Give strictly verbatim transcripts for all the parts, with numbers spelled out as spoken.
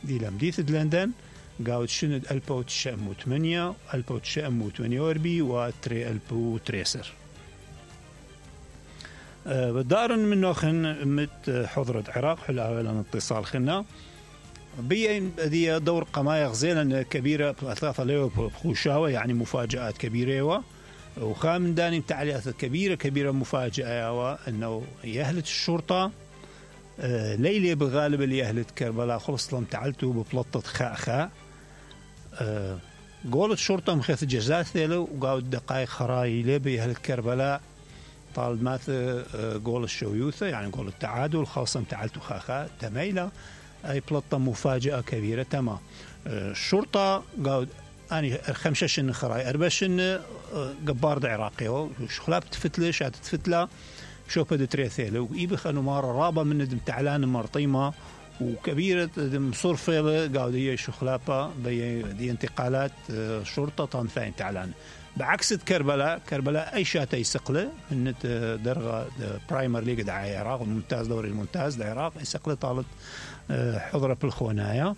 دي لمديث لندن قاود شند ألف وتسعمية وثمانية ألف وتسعمية وثمانية وأربعين وتري ألف وتريسر أه بدار من نوخن مت حضرة عراق حل أولا اتصال خنا بي دي دور قماية غزيلا كبيرة أثلاثة ليو بخوشاوة يعني مفاجآت كبيرة وخامن داني تعليقات كبيرة كبيرة مفاجأة أنه يهلت الشرطة أه ليلة بغالب اللي يهلت كربلاء خلص لهم تعلتوا ببلطة خاء خاء أه قولت الشرطة مخيث الجزاء ثيلو وقاود دقائق خراي ليه بيهلت كربلاء طال ماث أه قول الشويوثة يعني قول التعادل خاصة تعلتوا خاء خاء تميلة أي بلطة مفاجأة كبيرة تمام أه الشرطة قاود أنا خمسة خراي أربعة قبار عراقي شخلاب تفتلش هتتفتله شو بدي تريثيله ويبخ أنه مرة رابع من دم تعلان مرطيمة وكبيرة دم صرفة قاودية شخلابة بي دي انتقالات شرطة طنفين تعلان بعكس كربلاء كربلاء أي شات يسقله من درجة برايمر ليج دعاء العراق الممتاز دوري الممتاز العراق يسقله طالت حضرة بالخونايا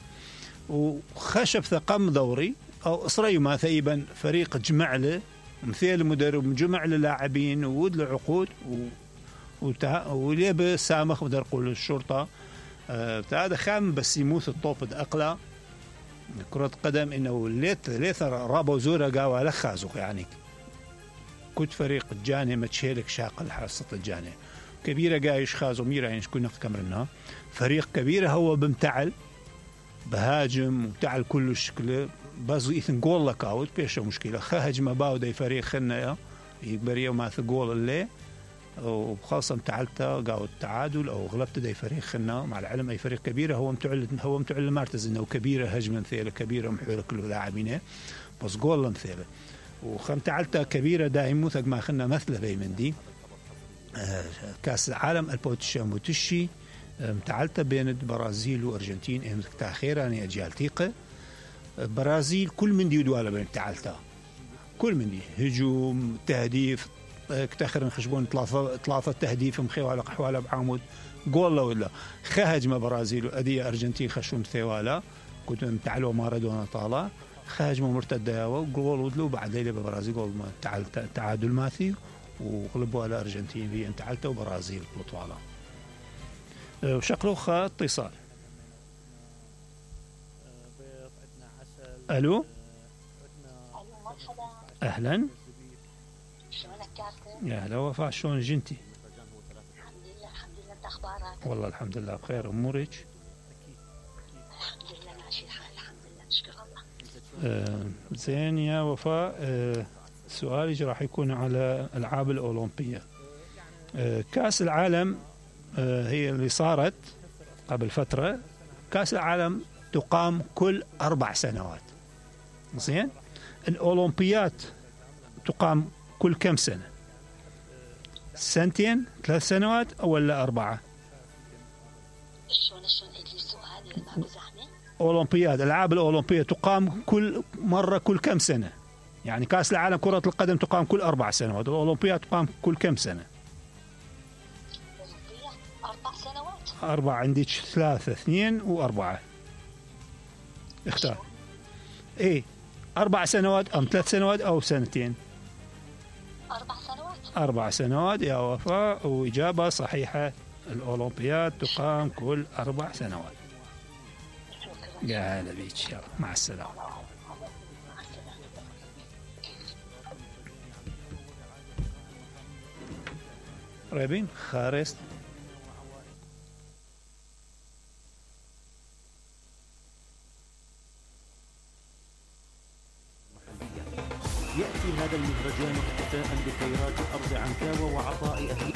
وخشب ثقم دوري أو إسرائيل ما ثيبا فريق جمع له مثيل مدرب جمع له لاعبين وود له عقود وتع... وليبه سامخ بدر قول الشرطة أه... هذا خام بس يموت الطوب أقلى كرة قدم إنه ليت ليت رابو زورا قاوة لخازق يعني كنت فريق الجاني متشيلك شاق الحصة الجاني كبيرة قايش خازو ميرا يعني شكون كمرنا فريق كبيرة هو بمتعل بهاجم وتعل كل الشكل بس إثن جول لك أوت بيش مشكلة خهجم باودي فريق خنا يقبريه وما ثقول اللي وخاصة تعلته قاود التعادل أو غلبت دي فريق خنا مع العلم أي فريق كبيرة هو متعل هو متعل مرتز إنه كبيرة هجمة مثيلة كبيرة محورة كل لاعبينه بس جول مثيلة وخم تعلته كبيرة دائما ثق ما خنا مثله في من دي آه كأس العالم البوتشي متشي متعلته بين البرازيل وأرجنتين إيه تأخيرا يعني أجيال ثقة برازيل كل من دي دوالة بين تعلته كل من دي هجوم تهديف كتاخر نخشبون ثلاثة ثلاثة تهديف مخيوالة قحوالة بعمود جول ولا خهجمة برازيل وأدية أرجنتين خشون ثوالة كنت متعلوا مارادونا طالع خهجمة مرتدة وجول ودلو بعد ليلة برازيل جول تعادل ماثي وغلبوا على أرجنتين في انتعلته وبرازيل بطوالة وشكله خا اتصال ألو أهلا يا هلا وفاء شلون جنتي؟ الحمد لله الحمد لله انت اخبارك؟ والله الحمد لله بخير امورك؟ الحمد لله ماشي الحال الحمد لله نشكر الله. آه زين يا وفاء آه سؤالي راح يكون على الالعاب الاولمبيه. آه كاس العالم آه هي اللي صارت قبل فتره كاس العالم تقام كل اربع سنوات. زين؟ الاولمبيات تقام كل كم سنه؟ سنتين ثلاث سنوات أو ولا أربعة؟ شلون شلون عيد لي السؤال ما بزحمة؟ أولمبياد الألعاب الأولمبية تقام كل مرة كل كم سنة؟ يعني كأس العالم كرة القدم تقام كل أربع سنوات، الأولمبياد تقام كل كم سنة؟ الأولمبياد أربع سنوات. أربعة عندك ثلاثة اثنين وأربعة. اختار. إيه أربع سنوات أم ثلاث سنوات أو سنتين؟ أربع سنوات. أربع سنوات يا وفاء وإجابة صحيحة. الأولمبياد تقام كل أربع سنوات. يا هلا بيك يلا مع السلامة. قريبين خارست يأتي هذا المهرجان احتفاء بخيرات أرض عنكاوى وعطاء أهل